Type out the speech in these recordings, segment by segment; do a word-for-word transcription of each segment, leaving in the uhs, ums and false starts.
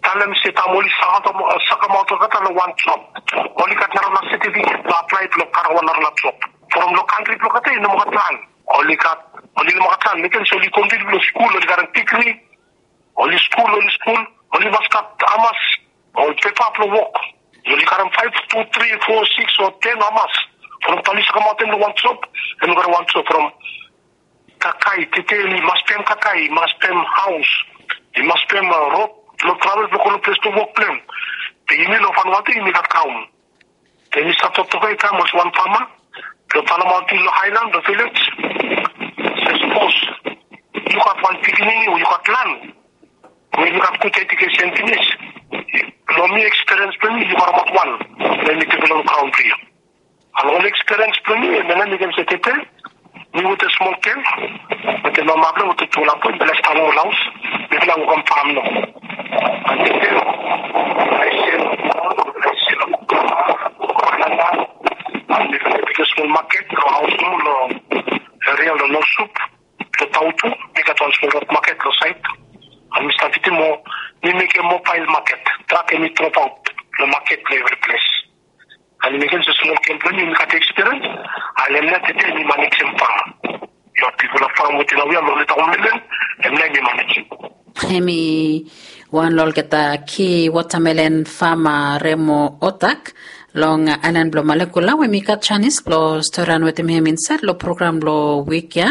Talem se taem oli sakamaot olgeta long wan job, oli gat narala setifiket blong aplae blong karem wan narala job. From long kantri blong olgeta i no moa gat lan. Oli gat, oli no moa gat lan, mekem se oli kontiniu long skul, oli karem digri. Oli skul, oli skul, oli mas gat hamas ol pepa blong wok. Oli karem faef, tu, tri, fo, sikis o ten hamas. From taem oli sakamaot long wan job, em i karem wan job from kakae, tete i mas pem kakae, i mas pem haos, i mas pem rod blong travel blong go long ples blong wok blong hem. Be yumi long Vanuatu yumi gat graon. Be mi stap toktok ya taem olsem wan fama blong talemaot long haelan, long vilej. Se sapos yu gat wan pikinini o yu gat lan we yu gat gud ejukesen finis, long mi ekspiriens blong mi yu karemaot wan blong mi develop graon blong yu. Long ol ekspiriens blong mi, em ya nao mi ken se tete, mi wetem smol gel wetem mama blong hem wetem tufala boe, mifala stap long ol haos, mifala wokem fam nao. An tete, ae sel, ae sel, an mifala mekem smol maket long haos nomo long eria long North Shore, long Tautu, mi gat wan smol rod maket long saed. An mi stap fitim moa, mi mekem mobael maket, trak hemi dropaot long maket long evri ples. An mi mekem se smol gel blong mi, mi gat ekspiriens, an hem nao tete mi manejem fam. Yu gat bigfala fam wetem naoia long Leta Womelen, hem nao mi manejem. Hemi wan long olgeta ki watamelen fama Remo Otak long aelan blong Malekula, we mi gat janis blong storian wetem hem insaed long program blong wik ya,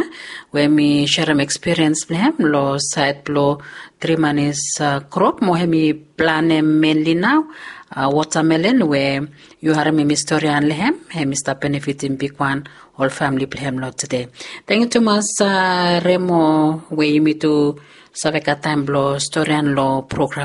we mi serem ekspiriens blong hem long saed blong tri manis, a, krop mo hemi planem menli nao, a, watamelen we yu harem hemi storian long hem, hemi stap benefitim bigwan ol famle blong hem long tede. Tangkiu tumas, a, Remo, we yumi tu save gat taem blong storian long program